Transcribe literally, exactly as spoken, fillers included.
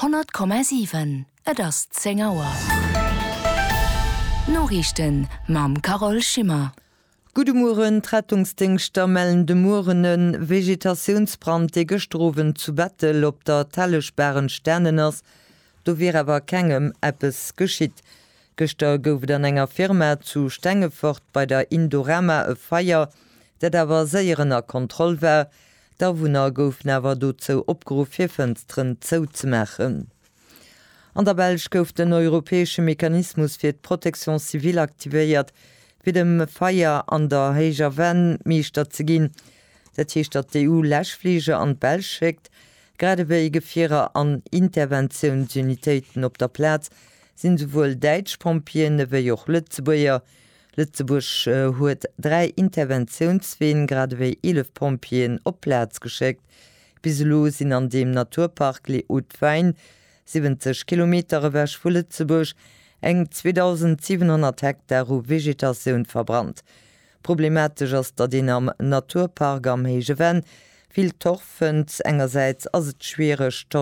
Honnert Komma siwen, Et ass zéng Auer. D'Noriichten mam Carole Schimmer. Gudde Mueren, D'Rettungsdéngschter mellen de Mueren e Vegetatiounsbrand, dee gëschter Owend zu Bettel op der Telleschbaach entstanen ass. Do wier awer kengem eppes geschitt. Gëschter gouf et an enger Firma zu Stengefort bei der Indorama e Feier, dat awer séier ënner Kontroll war. D'Awunner goufen awer dozou opgeruff fir Fënsteren zouzemaachen. An der Belsch gouf den europäesche Mechanismus fir d'Protection civile aktivéiert, fir dem Feier an der Héijer Venn Meeschter ze ginn. Dat heescht, datt d'EU Läschfliger an d'Belsch schéckt, grad ewéi Gefierer an Interventiounsunitéiten. Op der Plaz sinn esouwuel däitsch Pompjeeën ewéi och Lëtzebuerger. Lëtzebuerg huet dräi Interventiounsween, grad ewéi eelef Pompjeeën op d'Plaz geschéckt. Bis elo sinn an deem Naturpark Les Hauts-de-Fagne, siwwenzeg Kilometer ewech vu Lëtzebuerg, eng zweedausendsiwenhonnert Hektar u Vegetatioun verbrannt. Problematesch ass, datt een am Naturpark am Héije Venn vill Torf fënnt. Engersäits ass et schwiereg, Torf.